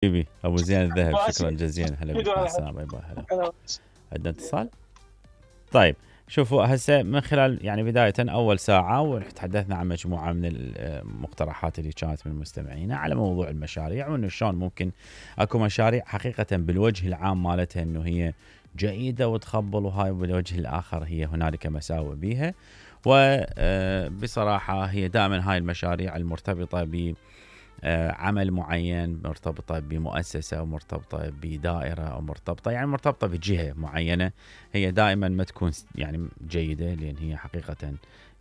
حبيبي ابو زين الذهب، شكرا جزيلا. هلا بك، مع السلامه. باي باي. هلا. عندنا اتصال. طيب شوفوا هسه من خلال يعني بدايه اول ساعه وتحدثنا عن مجموعه من المقترحات اللي كانت من مستمعينا على موضوع المشاريع، وانه شلون ممكن اكو مشاريع حقيقه بالوجه العام مالتها انه هي جيده وتخبل، وهاي بالوجه الاخر هي هنالك مساوئ بيها. وبصراحه هي دائما هاي المشاريع المرتبطه ب عمل معين، مرتبطة بمؤسسة أو مرتبطة بدائرة أو مرتبطة يعني مرتبطة بجهة معينة، هي دائما ما تكون يعني جيدة، لأن هي حقيقة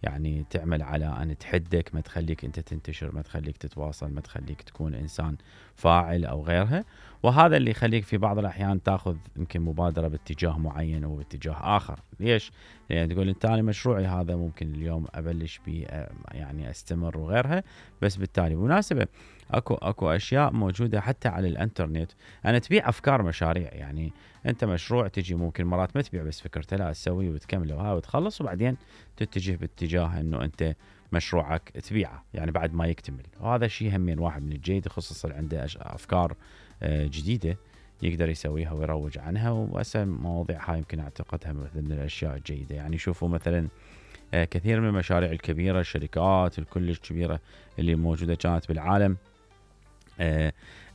يعني تعمل على أن تحدك، ما تخليك أنت تنتشر، ما تخليك تتواصل، ما تخليك تكون إنسان فاعل أو غيرها. وهذا اللي يخليك في بعض الأحيان تأخذ يمكن مبادرة باتجاه معين أو باتجاه آخر. ليش؟ لأن تقول أنت أنا مشروعي هذا ممكن اليوم أبلش به يعني أستمر وغيرها، بس بالتالي مناسبة اكو اشياء موجوده حتى على الانترنت انا تبيع افكار مشاريع. يعني انت مشروع تجي ممكن مرات ما تبيع بس فكرته، لا تسوي وتكمله وهاي وتخلص، وبعدين تتجه باتجاه انه انت مشروعك تبيعه يعني بعد ما يكتمل. وهذا شيء همين واحد من الجيد، خصوصا عنده افكار جديده يقدر يسويها ويروج عنها. وهسه مواضيع هاي يمكن اعتقدها من الاشياء الجيده. يعني شوفوا مثلا كثير من المشاريع الكبيره، الشركات الكلش كبيره اللي موجوده كانت بالعالم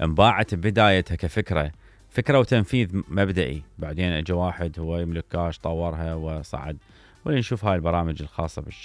انباعت ببدايتها كفكرة وتنفيذ مبدئي، بعدين اجى واحد هو يملك كاش طورها وصعد. ونشوف هاي البرامج الخاصة بالشغل